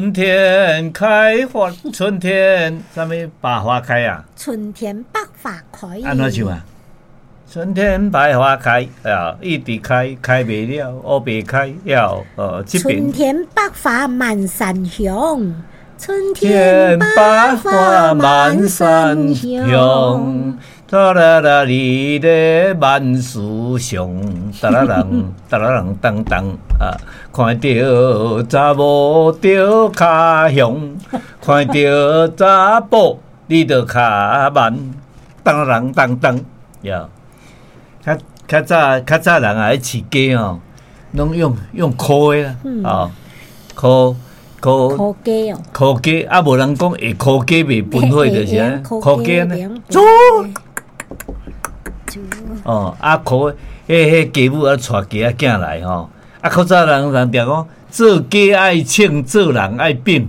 春天開花，春天啥物百花開啊？春天百花開。按怎唱啊？春天百花開啊，一直開，開袂了，烏白開了。哦，這邊。春天百花滿山紅，春天百花滿山紅。噠啦啦，你咧萬事祥，噠啦啷，噠啦啷當當啊！看著查某著跤雄，看著查埔你著跤慢，當啦啷當當呀！較較早較早人啊，咧飼雞吼，攏用用箍的啦，啊，箍箍箍雞哦，箍雞啊，無人講會箍雞袂分火就是按呢，箍雞按呢，煮。哦，啊，箍，彼彼雞母啊，帶雞仔囝來吼，啊，較早人人定講做雞愛稱，做人愛反。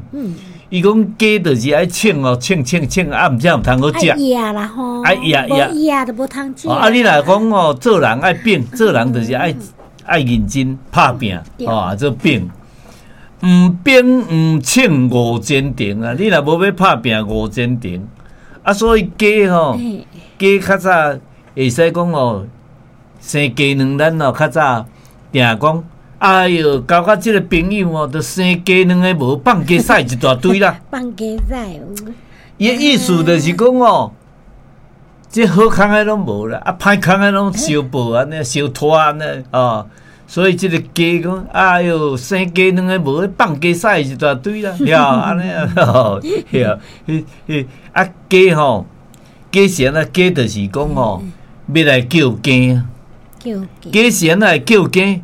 伊講雞就是愛稱哦，稱稱稱，啊，毋才有通好食。愛掖啦吼，愛掖掖，無掖就無通食。啊，你若講哦，做人愛反，做人就是愛愛認真拍拚，哦，做反。毋反毋稱誤前程啊！你若無欲拍拚誤前程，啊，所以雞吼，雞較早。會使講哦，生雞卵咱哦較早定講，哎喲，交甲這个朋友哦，著生雞卵的無放雞屎一大堆啦。放雞屎有。伊的意思就是講哦，這好康的攏無啦，啊歹康的攏相報按呢，相拖按呢，哦，所以這个雞講，哎喲，生雞卵的無，放雞屎一大堆啦，對按呢啊，對啊，彼彼啊雞吼，雞是按怎？雞就是講吼。欲來叫更，雞是按怎會叫更？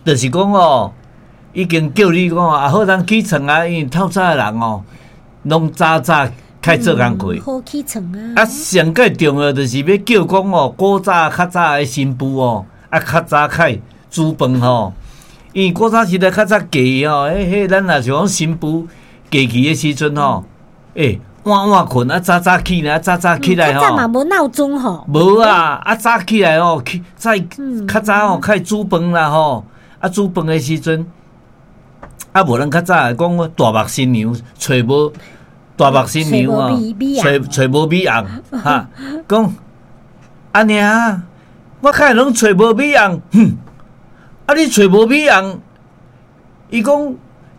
就是講哦，已經叫你講啊，好通起床啊，因為透早的人哦，攏早早開做工課。好起床啊！啊，上蓋重要就是欲叫講哦，古早較早的新婦哦，啊，較早開煮飯吼，因為古早時代較早嫁吼，彼彼咱若是講新婦嫁去的時陣吼，欸。晚晚睏啊，早早起來，早早起來吼。較早嘛無鬧鐘吼。無啊，啊早起來吼，起早較早吼，開煮飯啦吼。啊煮飯的時陣，啊無人較早會講大目新娘揣無大目新娘哦，揣揣無米紅哈。講阿娘，我看攏揣無米紅，哼！啊你揣無米紅，伊講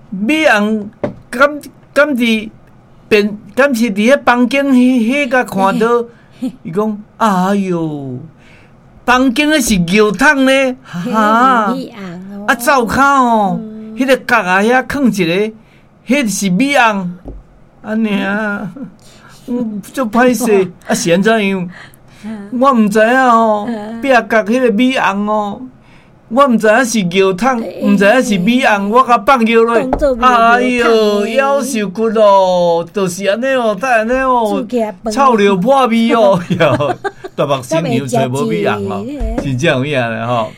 米紅敢敢佇？便敢是佇彼房間彼彼共看著，伊講：哎喲，房間彼是尿桶呢，哈！啊，灶跤吼，彼个角仔遐囥一个，彼是米紅，按呢啊，足歹勢，啊是按怎樣？我毋知影吼，壁角彼个米紅哦。我毋知影是尿桶，毋知影是米紅，我共放尿落。哎喲，夭壽骨咯，就是按呢哦，才按呢哦，臭尿破味哦，大目新娘揣無米紅哦，真正有影咧吼。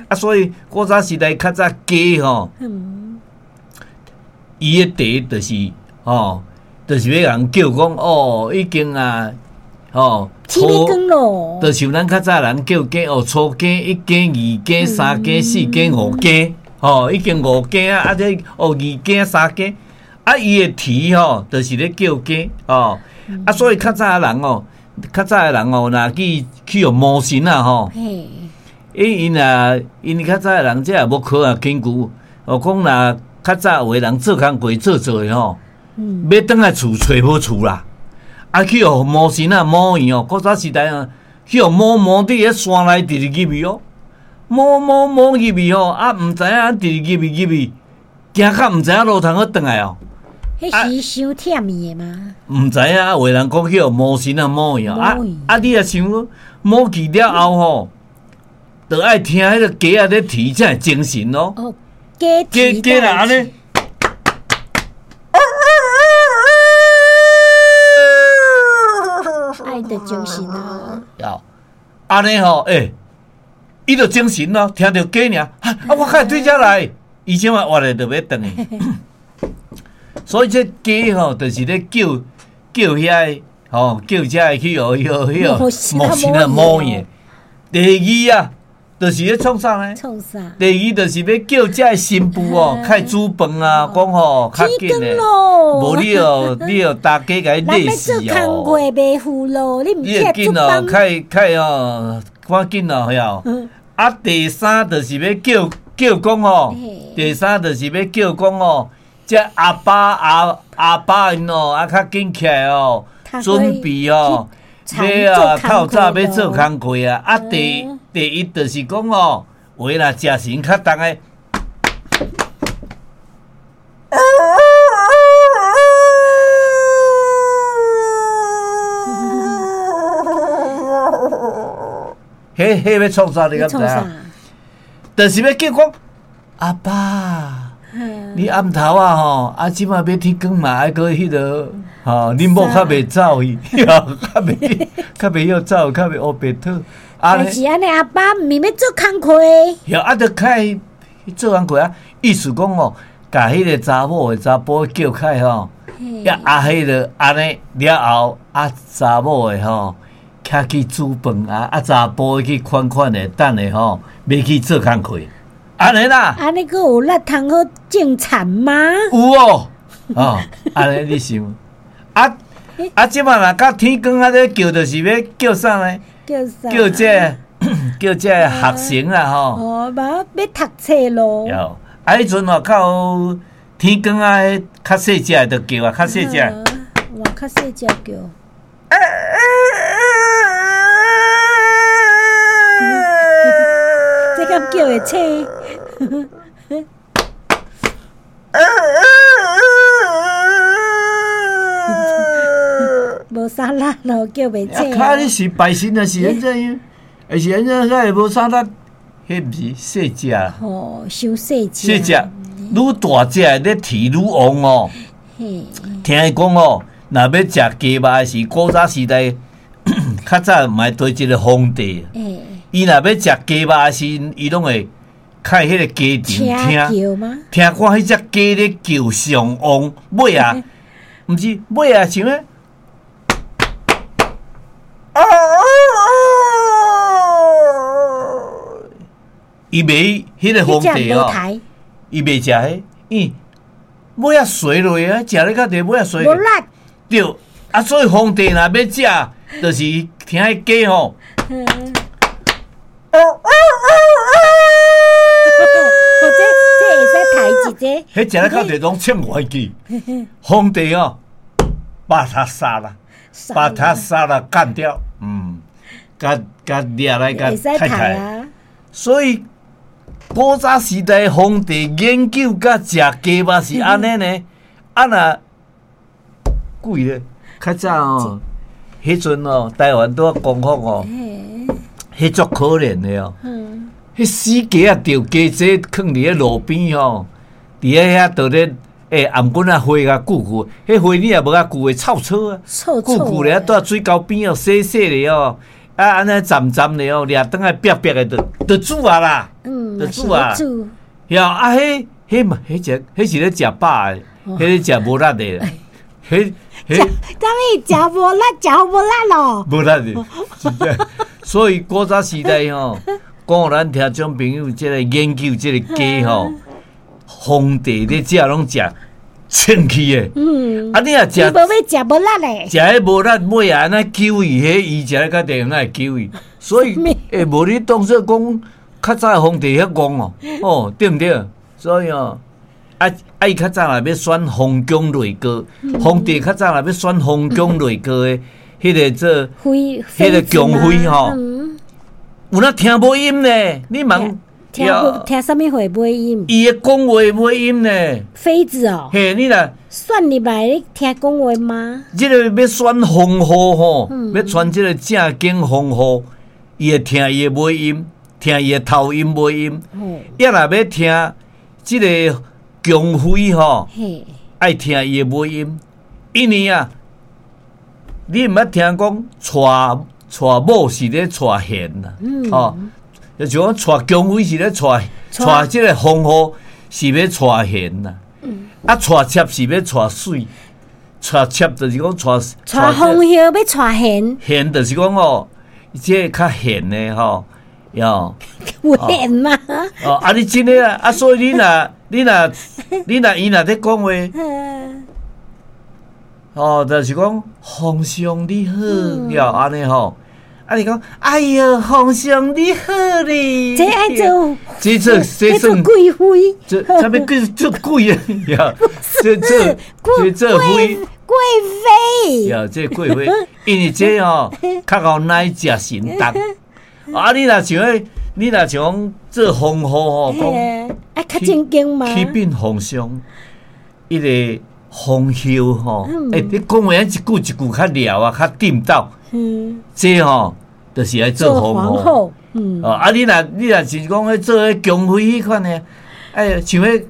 啊，所以古早時代較早雞吼，伊的茶就是吼，就是欲共叫講哦，已經啊。吼，初就像咱較早人叫更哦，初更、一更、二更、三更、四更、五更，吼，已經五更啊，啊這哦二更、三更，啊伊的啼吼，就是咧叫更哦，啊所以較早的人哦，較早的人哦，若去去予魔神啊吼，因因啊，因較早的人這也無科學根據，哦講若較早有的人做工課做做的吼，欲轉來厝揣無厝啦。啊！去予魔神仔摸去哦，古早時代啊，去予摸摸佇彼山內直直入去哦，摸摸摸入去吼，啊，毋知影直直入去入去，行到毋知影路通閣轉來哦。彼是傷忝伊的嗎？毋知影，有的人講去予魔神仔摸去哦，啊啊！你若想摸去了後吼，著愛聽彼个雞仔咧啼才會精神哦。哦，雞雞雞啦，按呢。愛著精神啊！按呢吼，欸，伊著精神咯，聽著雞爾，啊，我較會對遮來，伊這擺活咧著欲轉去。所以這雞吼，就是咧叫叫遐個，吼叫遮個去予彼個彼個魔神仔摸去。第二啊，就是咧創啥呢？創啥？第二就是欲叫這个新婦哦，較煮飯啊，講吼較緊的。無你哦，你哦，大家共伊累死哦。做工課袂赴咯，你毋你會緊哦，較較哦，趕緊哦，曉。啊，第三就是欲叫叫講吼，第三就是欲叫講吼，這阿爸阿阿爸𪜶哦，啊較緊起來哦，準備哦，欲啊透早欲做工課啊。啊，第第一就是講哦，話若食神較重的，彼彼欲創啥？你敢知影？就是欲叫講阿爸，你暗頭啊吼，啊這馬欲天光嘛，愛閣彼個吼，恁某較袂走去，較袂較袂曉走，較袂烏白套。但是按呢，阿爸毋是欲做工課。對，啊，著較做工課啊，意思講吼，共彼個查某的查埔叫開吼，啊，彼個按呢了後，啊，查某的吼，較去煮飯啊，啊，查埔去款款的等下吼，欲去做工課，按呢啦。按呢閣有力通好種田嗎？有哦，哦，按呢你想，啊啊，這馬若到天光啊，咧叫就是欲叫啥呢？叫啥？叫這個、叫這個學生啦吼。哦，無欲讀冊咯。有，啊，彼陣吼較天光啊，較細隻的就叫啊，較細隻。哇，較細隻叫。這敢叫會醒？無啥力咯，叫袂醒。啊，你是拜神啊，是按怎樣？是按怎才會無啥力？彼毋是細隻。哦，傷細隻。細隻，愈大隻的咧啼愈旺哦。聽伊講哦，若欲食雞肉的時，古早時代較早嘛會對一個皇帝。伊若欲食雞肉的時，伊攏會開彼個雞場聽，聽看彼隻雞咧叫上旺，尾啊，毋是尾啊，像咧。伊袂彼個皇帝哦，伊袂食彼，伊尾仔垂落啊，食咧較濟尾仔垂。無力。對，啊，所以皇帝若欲食，就是聽彼雞吼。這這會使抬一個。彼食咧較濟攏穿歪去，皇帝哦，把他殺了，把他殺了，幹掉，嗯，共共掠來共太太。所以古早時代皇帝研究佮食雞肉是按呢呢，啊若貴咧，較早哦，彼陣哦，台灣拄仔光復哦，彼足可憐的哦，彼死雞仔著雞仔囥佇咧路邊吼，佇咧遐佇咧頷頸仔花共舊舊，彼花你也無較舊會臭臭啊，臭舊舊咧，拄仔水溝邊哦，洗洗咧哦。啊，按呢浸浸咧哦，掠轉來煏煏的，就就煮啊啦，就煮啊。曉啊，彼彼嘛，彼只彼是咧食飽的，彼咧食無力的。彼彼食啥物？食無力，食無力咯。無力的，真正。所以古早時代吼，講予咱聽眾朋友這個研究這個雞吼，皇帝咧食攏食清氣的，嗯，啊，你若食，伊無欲食無力咧，食彼無力尾啊，按呢救伊，彼伊食咧較濟，哪會救伊？所以，欸，無你當做講較早皇帝遐戇哦，哦，對毋對？所以哦，啊啊，伊較早若欲選皇宮內閣，皇帝較早若欲選皇宮內閣的，彼個做，彼個宮妃吼，有哪聽無音呢？你問。聽聽啥物話尾音？伊的講話尾音呢？妃子哦。嘿，你若選入來，你聽講話嗎？這個欲選皇后吼，欲選這個正經皇后，伊會聽伊的尾音，聽伊的頭音尾音。抑若欲聽這個宮妃吼，愛聽伊的尾音，因為啊，你毋捌聽講娶娶某是咧娶賢啊，吼。就像講娶宮妃是咧娶娶這個皇后是欲娶賢啦，啊娶妾是欲娶媠，娶妾就是講娶娶皇后欲娶賢，賢就是講哦，這個較賢的吼，喲。有緣嗎？哦，啊！你真的啊，啊，所以你若伊若咧講話，哦，就是講皇上你好，喲，按呢吼，啊，你講，哎喲，皇上你好哩，這愛做，這做這做貴妃，這啥物叫做貴啊？喲，這做這做妃，貴妃，喲，這貴妃，因為這吼較𠢕奶食神重，啊，你若像彼。你若像講做皇后吼，講啊較正經嘛？啟稟皇上，伊個皇后吼，欸，你講話一句一句較撩啊，較顛倒。嗯，這吼就是愛做皇後。嗯，哦，啊，你若是講彼做彼宮妃彼款的，哎，像彼，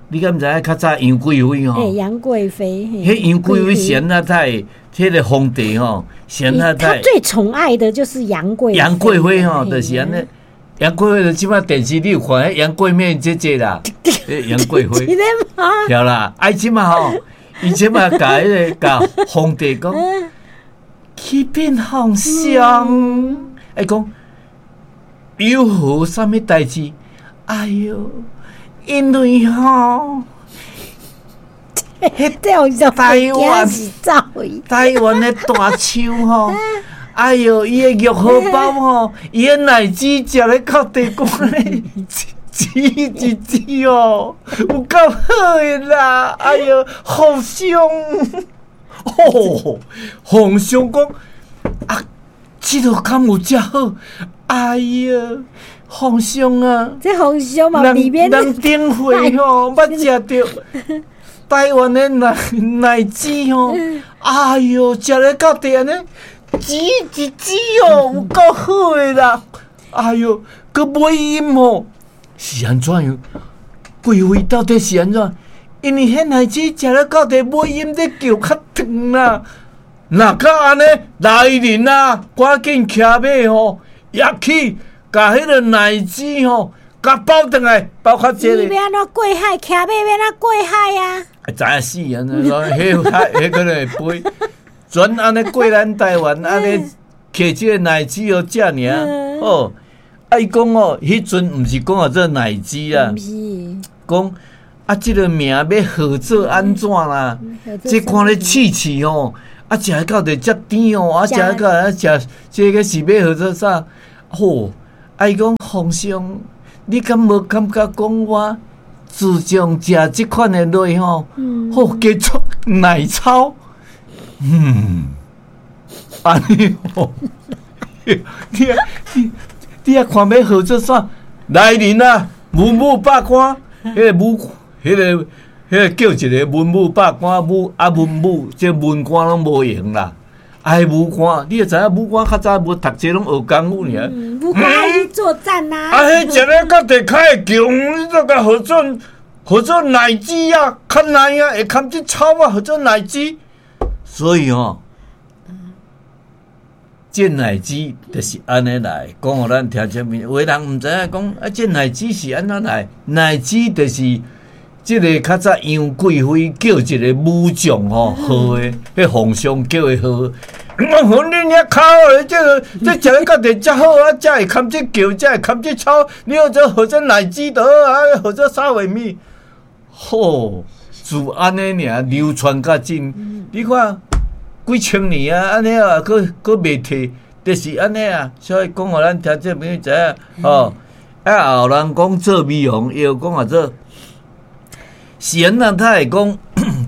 你敢毋知影較早楊貴妃吼？欸，楊貴妃。彼楊貴妃是按怎太，彼個皇帝吼，是按怎他最寵愛的就是楊貴。楊貴妃吼，就是按呢。楊貴妃就這擺電視你有看彼楊貴美姐姐啦，楊貴妃，對啦，啊伊這擺吼，伊這擺共彼個共皇帝講，啟稟皇上，伊講有何啥物代誌？哎喲，因為吼，台灣的大樹吼。哎喲，伊的玉荷包吼，伊的奶舌食咧到地瓜咧，舌一舌哦，有夠好的啦！哎喲，皇上，哦，皇上講啊，這个敢有遮好？哎喲，皇上啊，這皇上嘛，裡面人頂回吼，捌食著台灣的奶奶舌吼，哎喲，食咧到地按呢。舌一舌哦，有夠好的啦！哎喲，閣尾音哦，是按怎樣？貴妃到底是按怎？因為彼奶舌食了到底尾音咧叫較長啦。若閣按呢，來人啊，趕緊騎馬吼，入去共彼个奶舌吼，共包轉來，包較這個。伊欲按怎過海？騎馬欲按怎過海啊？知影死啊！彼海，彼可能會飛。全按呢過咱台灣，按呢摕這個奶舌予食爾。哦，啊伊講哦，彼陣毋是講號做奶舌啊，講啊這個名欲號做按怎啦？這看咧試試吼，啊食到底遮甜哦，啊食到啊食這個是欲號做啥？吼，啊伊講皇上，你敢無感覺講我自從食這款的落吼，好加足奶草。嗯，按呢吼，你啊你你啊看欲號做啥？來人啊，文武百官，彼个武，彼个叫一个文武百官，武啊文武，這文官攏無閒啦。哎，武官，你會知影武官較早無讀冊，攏學功夫爾。武官愛去作戰啊！啊，彼食咧到地較會強，你都共號做號做奶舌啊，較奶啊，會含這草啊，號做奶舌。所以吼，這奶舌就是按呢來，講予咱聽這物。有的人毋知影講啊，這奶舌是按怎來？奶舌就是這个較早楊貴妃叫一個武將吼號的，彼皇上叫伊號。我恁遐跤的，這个這食咧到底遮好啊，才會含這叫，才會含這草。你號做號做奶舌就好啊，號做啥話物？吼，自按呢爾流傳甲今，你看幾千年啊，按呢啊，閣閣袂退，就是按呢啊。所以講予咱聽眾朋友知影，吼，啊，有人講做美容藥，講號做是按怎？他會講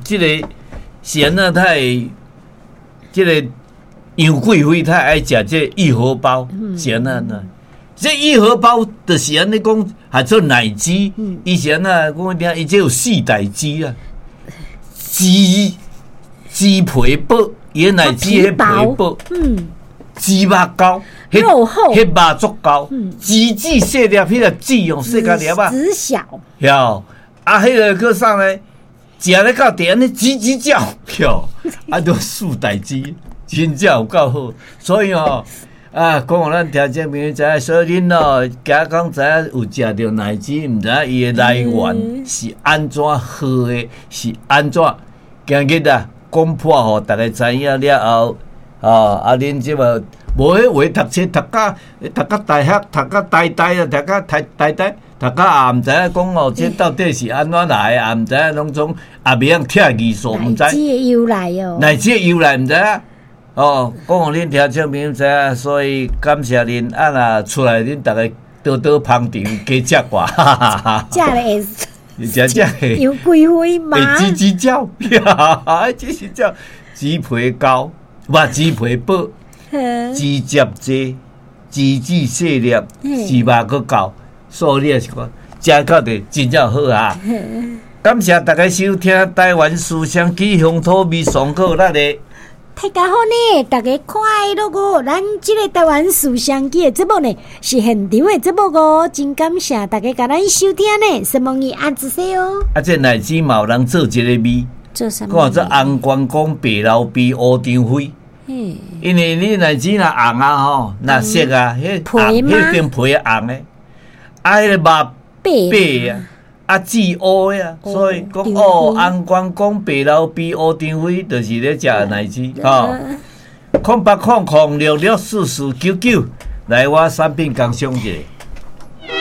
這个是按怎？他會這个楊貴妃，她愛食這玉荷包，是按怎呢？這玉荷包就是按呢講，還做奶舌，伊是按怎講？聽伊這有四大舌啊，舌舌皮薄，伊的奶舌彼皮薄，舌肉厚，肉厚，彼肉足厚，舌子細粒，彼个舌哦細甲粒仔，舌小，曉啊，彼个閣啥呢？食咧到底按呢吱吱叫，曉啊，都四大舌，真正有夠好，所以吼。啊，講予咱聽眾朋友知影，所以恁哦，加講知影有食著奶舌，毋知影伊的來源是按怎號的，是按怎？今日啊，講破予逐家知影了後，哦，啊，恁這擺無彼話讀冊讀甲讀甲大學，讀甲台大啊，讀甲台台大，讀甲也毋知影講哦，這到底是按怎來的，也毋知影攏總也袂曉拆字數，毋知。奶子的由來哦，乃至由來毋知影。哦，講予恁聽眾朋友知影，所以感謝恁啊，若出來恁逐家多多捧場，加食寡，哈哈哈！食咧會食食會有幾歲嘛？會吱吱叫，吱吱叫，雞皮膏，無雞皮薄，枝節濟，枝子細粒，翅肉閣厚，所以你也是講食到底真正好啊！感謝大家收聽台灣思想記鄉土味上好咱的。大家好呢，大家快樂哦！咱這个台灣思想記的節目呢，是現場的節目哦，真感謝大家共咱收聽呢，承蒙伊暗自說哦。啊，這奶子嘛有人做一个味，做啥物？講做紅關公白老鱉烏張飛。因為你奶子若紅啊吼，若色啊，彼紅彼邊皮紅的，啊，彼個肉白啊。啊，紫烏的啊，所以講哦，紅關公白老鱉烏張飛，就是咧食奶子吼。0800066449，來我產品工商者。